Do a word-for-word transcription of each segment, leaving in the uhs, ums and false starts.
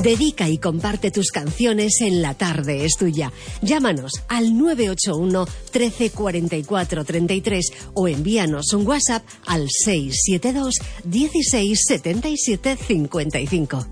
Dedica y comparte tus canciones en La Tarde es Tuya. Llámanos al nueve ocho uno, trece, cuarenta y cuatro, treinta y tres o envíanos un WhatsApp al seis siete dos, dieciséis, setenta y siete, cincuenta y cinco.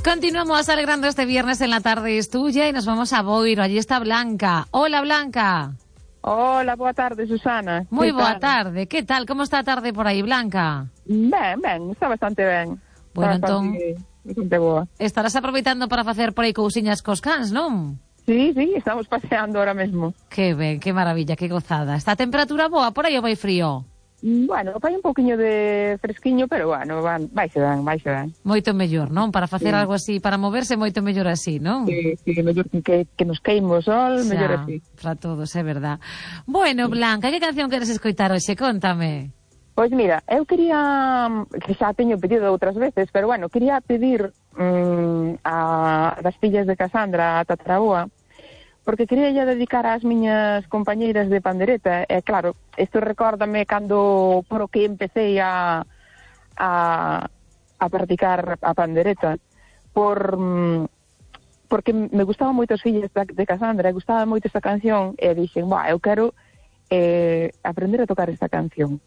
Continuamos alegrando este viernes en La Tarde es Tuya y nos vamos a Boiro. Allí está Blanca. Hola, Blanca. Hola, boa tarde, Susana. Moi boa tarde. Que tal? Como está a tarde por aí, Blanca? Ben, ben, está bastante ben. Bueno, está entón, bastante, bastante boa. Estarás aproveitando para facer por aí cousiñas cos cans, non? Sí, sí, estamos paseando ahora mesmo. Que ben, que maravilla, que gozada. Está a temperatura boa por aí ou vai frío? Bueno, vai un poquinho de fresquiño, pero bueno, van, vaise ben, vaise ben. Moito mellor, non? Para facer sí. algo así, para moverse, moito mellor así, non? Sí, sí, mellor que, que nos queime o sol, xa, mellor así. Para todos, é verdad. Bueno, Blanca, que canción queres escoitar hoxe? Contame. Pois mira, eu quería, que xa teño pedido outras veces, pero bueno, quería pedir mmm, a das fillas de Casandra, a Tataraboa, porque quería ya dedicar ás miñas compañeiras de pandereta, e claro, isto recórdame cando por o que empecé a, a, a practicar a pandereta, por, porque me gustaban moito as fillas de, de Casandra, e gustaba moito esta canción, e dixen, bah, eu quero eh, aprender a tocar esta canción.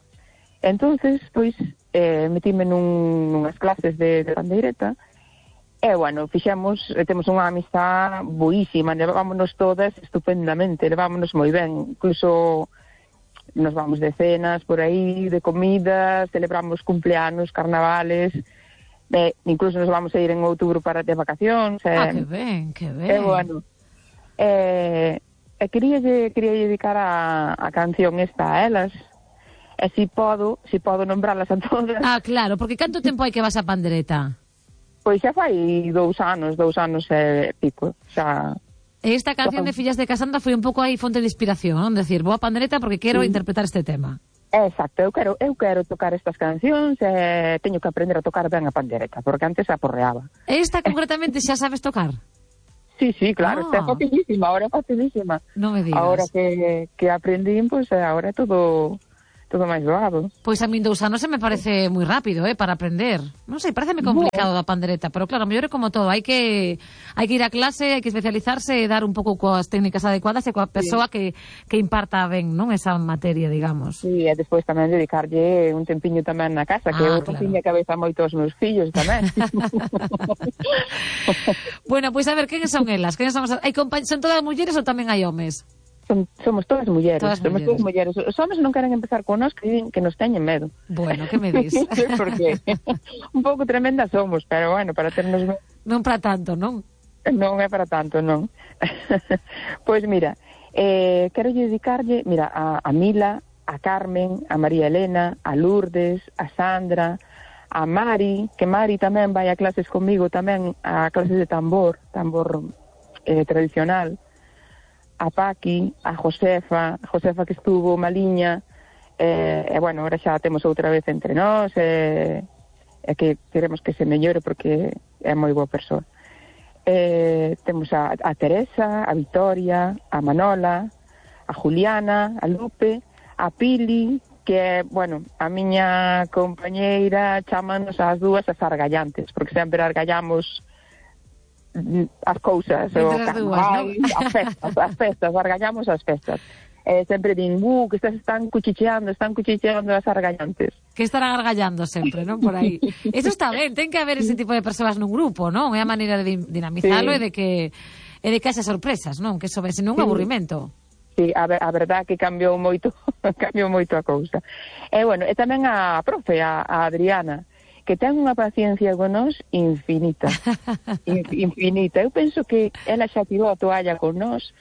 Entonces, pois, eh, metíme nun, nunhas clases de, de pandeireta, e, bueno, fixemos, temos unha amistad boísima, levámonos todas estupendamente, levámonos moi ben, incluso nos vamos de cenas por aí, de comida, celebramos cumpleanos, carnavales, e incluso nos vamos a ir en outubro para de vacacións. Ah, que ben, que ben. E, bueno, e, e quería, quería dedicar a, a canción esta a elas, e si podo, si podo nombrarlas a todas. Ah, claro, porque canto tempo hai que vas a pandereta? Pois xa fai dous anos, dous anos e pico, xa... Esta canción de Fillas de Casandra foi un pouco aí fonte de inspiración, non? Decir, vou a pandereta porque quero sí. interpretar este tema. Exacto, eu quero, eu quero tocar estas cancións e teño que aprender a tocar ben a pandereta, porque antes aporreaba. Esta concretamente xa sabes tocar? Sí, sí, claro, ah. está facilísima, ahora é facilísima. Non me digas. Ahora que, que aprendín, pois pues, ahora é todo... todo máis doado. Pois a min dous anos se me parece moi rápido, eh, para aprender. Non sei, pareceme complicado da pandereta, pero claro, mellor é como todo, hai que hai que ir a clase, hai que especializarse e dar un pouco coas técnicas adecuadas e coa persoa sí. que, que imparta ben, non, esa materia, digamos. Sí, e despois tamén dedicarlle un tempiño tamén na casa, que ah, eu claro. Tiña cabeza moito aos meus fillos tamén. Bueno, pois a ver, quen son elas? Quen son, hai compa- son todas mulleres ou tamén hai homes? Son, somos todas mulleres, todas somos mulleres. todas mulleres. Os homens non queren empezar con nós, que, que nos teñen medo. Bueno, que me dis? Porque un pouco tremenda somos, pero bueno, para ternos... Non para tanto, non? Non é para tanto, non. Pois mira, eh, quero dedicarlle, mira, a, a Mila, a Carmen, a María Elena, a Lourdes, a Sandra, a Mari, que Mari tamén vai a clases comigo, tamén a clases de tambor, tambor eh, tradicional, a Paqui, a Josefa, a Josefa que estuvo maliña, e, eh, bueno, ahora xa temos outra vez entre nós, e, e que queremos que se mellore porque é moi boa persoa. Eh, temos a, a Teresa, a Victoria, a Manola, a Juliana, a Lupe, a Pili, que é, bueno, a miña compañeira, chámanos as dúas as argallantes, porque sempre argallamos as cousas, o carnaval, ¿no? as festas, as festas, argallamos as festas. Eh, sempre din, uh, que estas están cuchicheando, están cuchicheando as argallantes. Que estarán argallando sempre, non? Por aí. Eso está ben, ten que haber ese tipo de persoas nun grupo, non? É a maneira de dinamizalo sí. e de que e de que haxe sorpresas, non? Que iso ve, senón un sí. aburrimento. Sí, a, ver, a verdad que cambiou moito, cambiou moito a cousa. E, bueno, e tamén a profe, a, a Adriana, que ten unha paciencia con nós infinita, infinita. Eu penso que ela xa tirou a toalla con nós,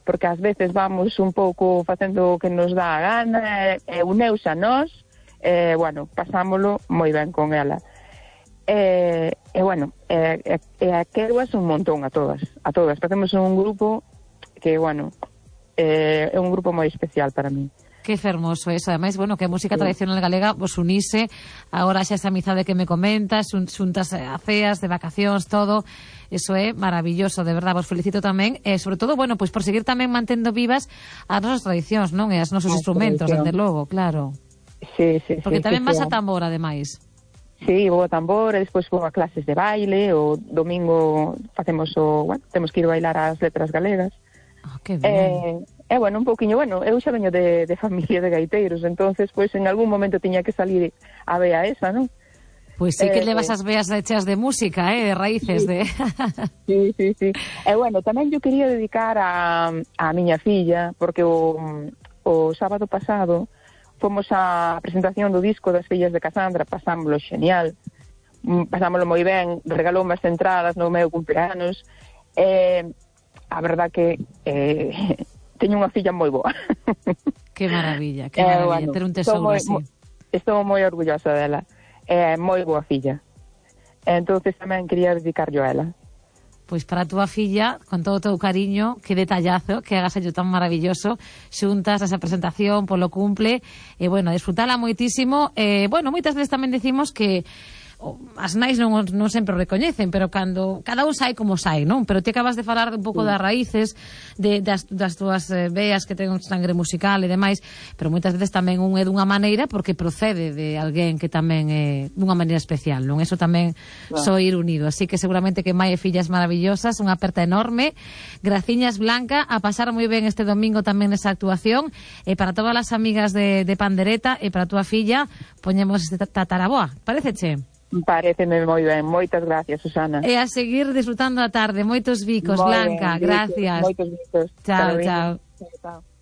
porque ás veces vamos un pouco facendo o que nos dá a gana, e uneus a nós, e, bueno, pasámolo moi ben con ela. E, e bueno, e, e, e a queroas un montón a todas, a todas. Facemos un grupo que, bueno, é un grupo moi especial para mí. Que fermoso eso, ademais, bueno, que a música sí. tradicional galega vos unise, agora xa esa amizade que me comentas, xuntas a ceas, de vacacións, todo, eso é maravilloso, de verdad, vos felicito tamén, e sobre todo, bueno, pois por seguir tamén mantendo vivas as nosas tradicións, non? E as nosos as instrumentos, desde logo, claro. Sí, sí, Porque sí, tamén sí, vas sí. a tambor, ademais. Sí, vou a tambor, e despois vou a clases de baile, o domingo facemos o, bueno, temos que ir bailar as letras galegas. Oh, que ben. E, eh, bueno, un pouquiño, bueno, eu xa veño de, de familia de gaiteiros, entonces, pois, en algún momento tiña que salir a vea esa, non? Pois sí que Eh, levas as veas hechas de música, eh, de raíces, sí. de... Sí, sí, sí. E, bueno, tamén eu quería dedicar a, a miña filla, porque o, o sábado pasado fomos á presentación do disco das fillas de Casandra, pasámoslo genial, pasámoslo moi ben, regalou as entradas no meu cumpleanos, e a verdad que eh, teño unha filla moi boa. Que maravilla, que Eh, maravilla, bueno, ter un estou tesouro moi, así. mo- Estou moi orgullosa dela, é moi boa filla. Entonces tamén quería dedicarlo a ela. Pois para a túa filla, con todo o teu cariño, que detallazo, que hagas ello tan maravilloso, xuntas esa presentación polo cumple, e, bueno, disfrutala moitísimo. E, bueno, moitas veces tamén decimos que o, as nais non, non sempre o recoñecen, pero cando cada un sai como sai, non? Pero ti acabas de falar un pouco das raíces, de, das, das túas eh, veas que ten un sangre musical e demais, pero moitas veces tamén un é dunha maneira porque procede de alguén que tamén é dunha maneira especial, non? Eso tamén Claro. só ir unido, así que seguramente que mai e fillas maravillosas, unha aperta enorme, graciñas Blanca, a pasar moi ben este domingo tamén nesa actuación, e para todas as amigas de, de Pandereta e para a túa filla, poñemos este tataraboa, paréceche? Paréceme moi ben, moitas gracias, Susana. E a seguir disfrutando a tarde. Moitos bicos, Moi Blanca, ben, gracias. Moitos bicos. Chao, Carolina. chao. Chao, chao.